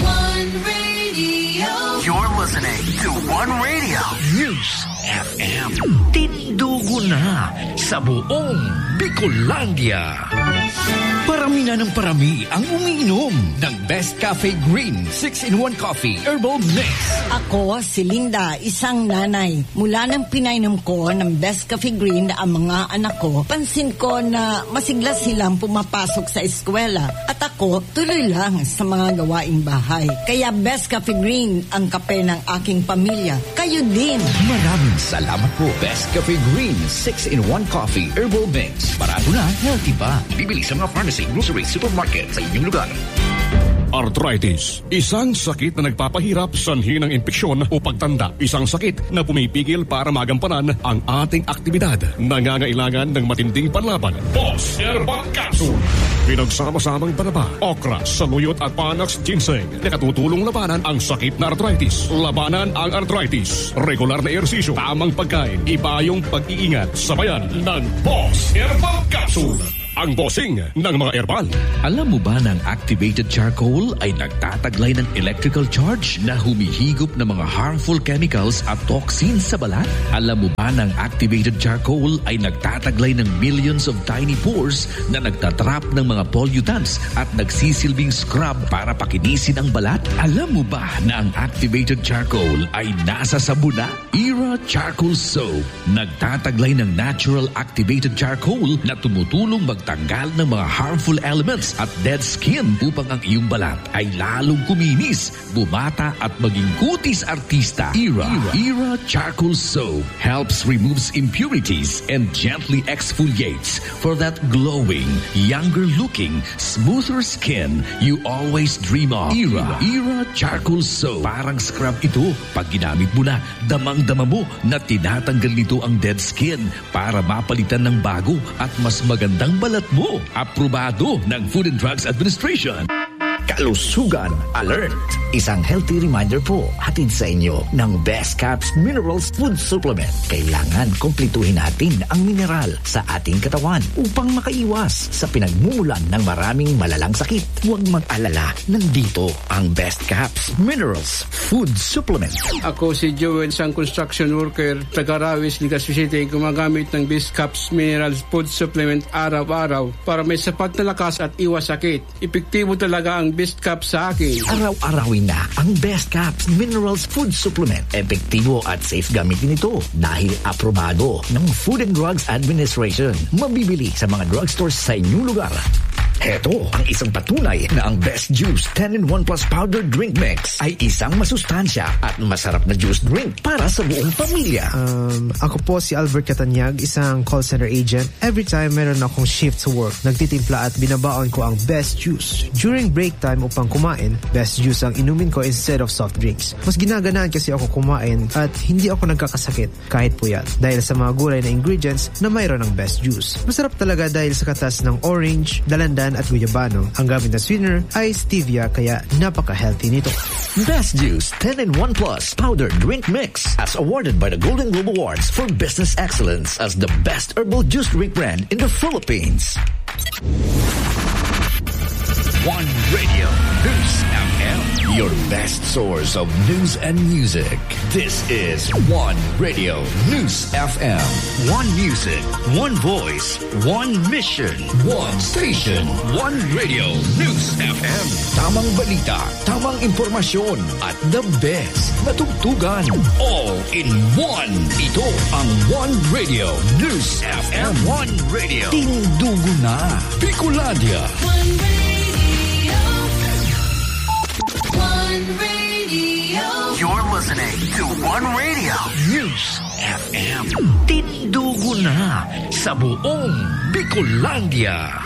One Radio. You're listening to One Radio News F M. Tindugon na sa buong Bicolandia. Parami na ng parami ang umiinom ng Best Cafe Green six-in-one Coffee Herbal Mix. Ako si Linda, isang nanay. Mula nang pinainom ko ng Best Cafe Green ang mga anak ko, pansin ko na masigla silang pumapasok sa eskwela. At ako, tuloy lang sa mga gawaing bahay. Kaya Best Cafe Green ang kape ng aking pamilya. Kayo din! Maraming salamat po, Best Cafe Green six-in-one Coffee Herbal Mix. Barato na, healthy pa. Bibili sa mga pharmacy, grocery, supermarket sa inyong lugar. Arthritis, isang sakit na nagpapahirap sanhi ng impeksyon o pagtanda. Isang sakit na pumipigil para magampanan ang ating aktibidad. Nangangailangan ng matinding panlaban. Boss Herbal Capsule. Pinagsama-samang banaba, okra, saluyot at panax ginseng. Nakatutulong labanan ang sakit na arthritis. Labanan ang arthritis. Regular na ehersisyo, tamang pagkain, ibayong pag-iingat. Sabayan ng Boss Herbal Capsule. Ang bossing ng mga herbal. Alam mo ba na ang activated charcoal ay nagtataglay ng electrical charge na humihigop ng mga harmful chemicals at toxins sa balat? Alam mo ba na ang activated charcoal ay nagtataglay ng millions of tiny pores na nagtatrap ng mga pollutants at nagsisilbing scrub para pakinisin ang balat? Alam mo ba na ang activated charcoal ay nasa sabon na? Era Charcoal Soap. Nagtataglay ng natural activated charcoal na tumutulong magtanggal ng mga harmful elements at dead skin upang ang iyong balat ay lalong kuminis, bumata at maging kutis artista. Era, Era Charcoal Soap helps removes impurities and gently exfoliates for that glowing, younger looking, smoother skin you always dream of. Era, Era Charcoal Soap. Parang scrub ito. Pag ginamit mo na, damang-dama mo na tinatanggal nito ang dead skin para mapalitan ng bago at mas magandang balat mo. Aprobado ng Food and Drugs Administration. Kalusugan Alert! Isang healthy reminder po, hatid sa inyo ng Best Caps Minerals Food Supplement. Kailangan kumpletuhin natin ang mineral sa ating katawan upang makaiwas sa pinagmumulan ng maraming malalang sakit. Huwag mag-alala, nandito ang Best Caps Minerals Food Supplement. Ako si Joel, isang construction worker, taga Rawis, Legazpi City, gumagamit ng Best Caps Minerals Food Supplement araw-araw para may sapat na lakas at iwas sakit. Epektibo talaga ang Best Cap sa akin. Araw-arawin na ang Best Caps Minerals Food Supplement. Epektibo at safe gamitin ito dahil aprobado ng Food and Drugs Administration. Mabibili sa mga drugstores sa inyong lugar. Heto ang isang patunay na ang Best Juice ten-in-one Plus Powder Drink Mix ay isang masustansya at masarap na juice drink para sa buong pamilya. Um, ako po si Albert Catanyag, isang call center agent. Every time meron akong shift sa work, nagtitimpla at binabaon ko ang Best Juice during break time upang kumain. Best Juice ang inumin ko instead of soft drinks. Mas ginaganahan kasi ako kumain at hindi ako nagkakasakit kahit puyat dahil sa mga gulay na ingredients na mayroon ng Best Juice. Masarap talaga dahil sa katas ng orange, dalandan at guyabano. Ang gamit na sweetener ay stevia, kaya napaka-healthy nito. Best Juice ten-in-one Plus Powder Drink Mix, as awarded by the Golden Globe Awards for Business Excellence as the best herbal juice drink brand in the Philippines. One Radio News F M, your best source of news and music. This is One Radio News F M. One music, one voice, one mission, one station, One Radio News F M. Tamang balita, tamang impormasyon, at the best na tugtugan. All in one. Ito ang One Radio News F M. One Radio. Tindugo na, Bicolandia. One Radio. One Radio. You're listening to One Radio News F M. Tindugo na sa buong Bicolandia.